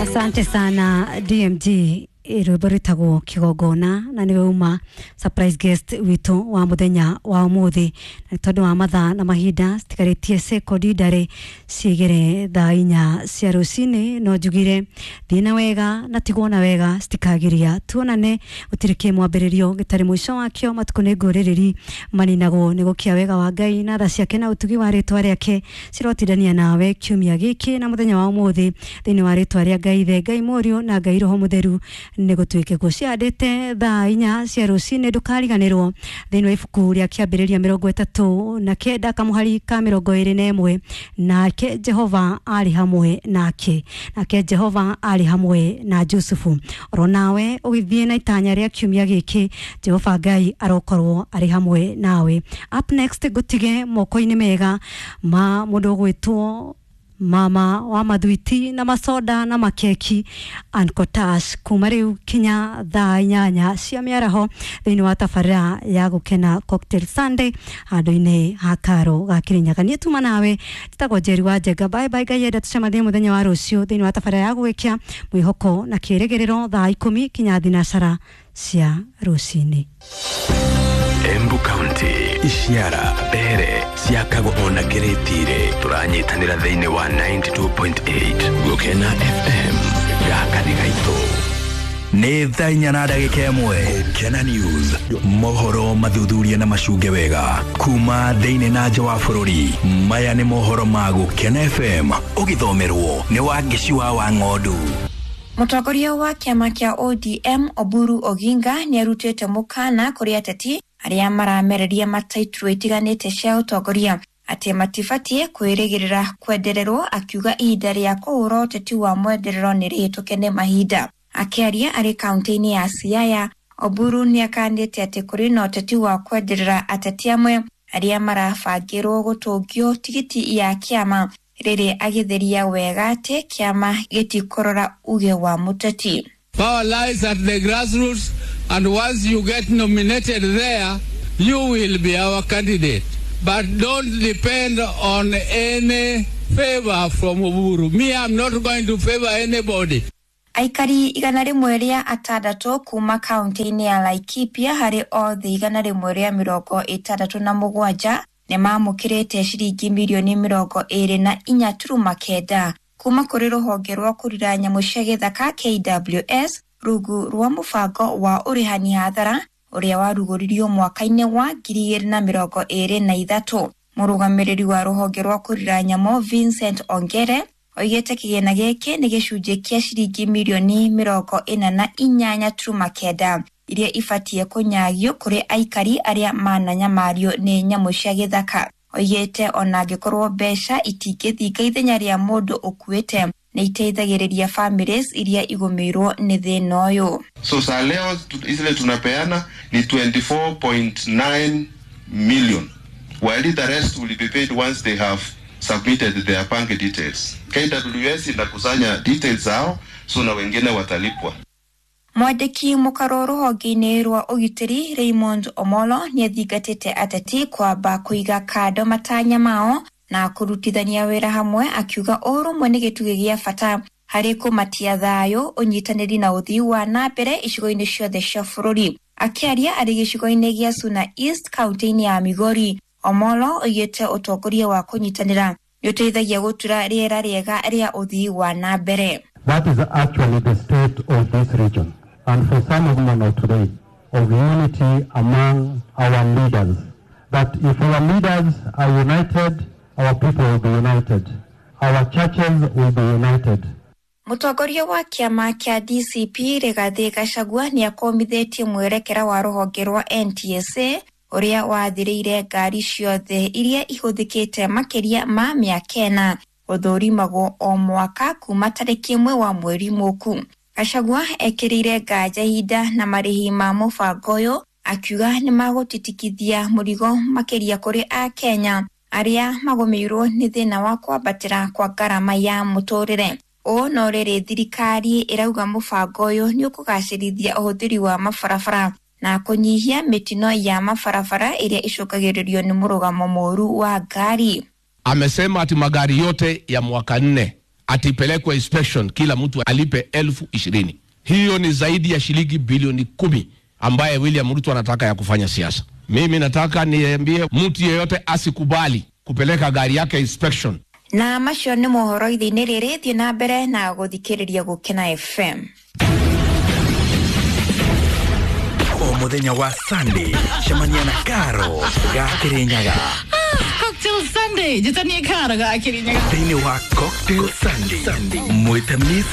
Asante sana DMG, rwĩmbo rwĩtagwo Kĩgongona, na nĩwe uma surprise guest witũ wa mũthenya wa ũmũthĩ. Na tondũ wa mathaa na mahinda, citigarĩtie sekondi ndarĩ ciĩgere thaa 4 cia rũcinĩ, no njugire thiĩ na wega na tigwo na wega citikagiria tuonane. Gũtirĩ kĩ mwambĩrĩrio gĩtarĩ mũico wakĩo. Matukũ nĩ ngũrĩrĩri maninagwo nĩ gũkia. Wega wa Ngai na tha ciake na ũtugi wa rĩtwa rĩake cirotindania nawe kiumia gĩkĩ na mũthenya wa ũmũthĩ. Thĩinĩ wa rĩtwa rĩa Ngai Ithe, Ngai Mũriũ na Ngai Roho Mũtheru, nĩ gũtuĩke guo. Ciandĩte thaa 4 cia rũcinĩ, ndũkariganĩrwo thĩinĩ wa ibuku rĩa Kĩambĩrĩria 39 kamũhari ka 21, nake Jehova arĩ hamwe nake, nake Jehova arĩ hamwe na Jusufu. Oro nawe ũgĩthiĩ na itanya rĩa kiumia gĩkĩ, Jehova Ngai arokorwo arĩ hamwe nawe. Up next, ngũtige moko-inĩ mega ma mũndũ ũgwĩtwo mama wa mathwiti na masoda na makeki, Ancotash, kuma rĩu kinya thaa 8 cia mĩaraho thĩinĩ wa tabarĩra ya Gũkena Cocktail Sunday handũ-inĩ ha karo ga Kĩrĩnyaga. Niĩ tuma nawe njĩtagwo Njeri wa Njenga. Bye bye. Ngai enda tũcemanie mũthenya wa rũciũ thĩinĩ wa tabarĩra ya Gũgĩkia Mwĩhoko na Kĩrĩgĩrĩro, thaa 10 kinya thinacara cia rũcinĩ. Embu County, Ishiara, Mbere, Ciakago ona Kĩrĩtire, tũranyitanĩra thĩinĩ wa 92.8 Gũkena FM. Gaka nĩ gaitũ. Nĩ thaa 4 na ndagĩka 1. Gũkena News, mohoro mathuthuria na macunge wega kuma thĩinĩ na nja wa bũrũri. Maya nĩ mohoro ma Gũkena FM, ũgĩthomerwo nĩ Wangĩci wa Wang'ondu. Mũtongoria wa kĩama kĩa ODM Oburu Oginga nĩ arutĩte mũkana kũrĩ ateti arĩa maramereria mataitũ itiganĩte cia ũtongoria atĩ matibatiĩ kwĩrĩgĩrĩra kwendererwo, akiuga ihinda rĩa kũhũra ũteti wa mwenderero nĩ rĩhĩtũke nĩ mahinda. Akĩaria arĩ kaunti-inĩ ya Siaya, Oburu nĩ akanĩte atĩ kũrĩ na ũteti wa kwenderera ateti amwe arĩa marabangĩrwo gũtũngio tigiti ya kĩama, rĩrĩ agĩtheria wega atĩ kĩama gĩtikũrora uge wa mũteti. Power lies at the grassroots, and once you get nominated there, you will be our candidate. But don't depend on any favor from Uhuru. Me, I'm not going to favor anybody. Aikari 106 kuma kaunti-inĩ ya Laikipia harĩ othe 167 nĩ mamũkĩrĩte ciringi mirioni 24.9 kuma kũrĩ rũhonge rwa kũrira nyamũ cia gĩthaka KWS, rungu rwa mũbango wa ũrĩhani hathara ũrĩa warugũririo mwaka-inĩ wa 2023. Mũrũgamĩrĩri wa rũhonge rwa kũrira nyamũ Vincent Ongere oigĩte kĩgĩna gĩkĩ nĩ gĩcunjĩ kĩa ciringi mirioni 48.9 iria ibatiĩ kũnyagio kũrĩ aikari arĩa mananyamario nĩ nyamũ cia gĩthaka. Oigĩte ona angĩkorwo mbeca itingĩthinga ithenya rĩa mũndũ ũkuĩte, nĩ iteithagĩrĩria families iria igũmĩirwo nĩ thĩna ũyũ. So saa leo zile tunapeana ni 24.9 million, while the rest will be paid once they have submitted their bank details. KWS inakusanya details zao, so na wengine watalipwa. Mwandĩki mũkaro rũhonge-inĩ rwa ũgitĩri Raymond Omolo nĩ athingatĩte ateti kwamba kũiga kando matanya mao na kũrutithania wĩra hamwe, akiuga ũrũmwe nĩ gĩtugĩ gĩa bata harĩ kũmatia thayũ, ũnyitanĩri na ũthii wa na mbere icigo-inĩ ciothe cia bũrũri. Akĩaria arĩ gĩcigo-inĩ gĩa Suna East kaunti-inĩ ya Migori, Omolo oigĩte ũtongoria wa kũnyitanĩra nĩ ũteithagia gũtura rĩera rĩega rĩa ũthii wa na mbere. That is actually the state of this region. And for some of them of today, of unity among our leaders. That if our leaders are united, our people will be united. Our churches will be united. Mũtongoria wa kĩama kĩa DCP Rigathĩ Gachagua nĩ akomithĩtie mwerekera wa rũhonge rwa NTSA ũrĩa wathĩrĩire ngari ciothe iria ihũthĩkĩte makĩria ma mĩaka 4 gũthũrimagwo o mwaka kuma tarĩki 1 wa mweri mũku. Gachagua ekĩrĩire nganja ihinda na marĩhi ma mũbango ũyũ, akiuga nĩ magũtitikithia mũrigo makĩria kũrĩ Akenya arĩa magũmĩirwo nĩ thĩna wa kwambatĩra kwa ngarama ya mũtũrĩre. Ũũ no rĩrĩ thirikari ĩrauga mũbango ũyũ nĩ ũkũgacĩrithia ũhũthĩri wa mabarabara na kũnyihia mĩtino ya mabarabara ĩrĩa ĩcũngagĩrĩrio nĩ mũrũgamo mũru wa ngari. Amesema ati magari yote ya mwaka 4 atipelekwe inspection, kila mtu alipe 20,000. Hiyo ni zaidi ya shilingi bilioni 10 ambaye William Ruto anataka ya kufanya siasa. Mimi nataka niambie mtu yeyote asikubali kupeleka gari yake inspection. Na macio nĩ mohoro ithe-inĩ rĩrĩ, thiĩ na mbere na gũthikĩrĩria Gũkena FM. O muthenya wa Sunday cemania na Karo ga Kirinyaga. Cocktail Sunday, njĩtanie Karo ga Kirinyaga. Thĩinĩ wa Cocktail Sunday mwĩte Miss.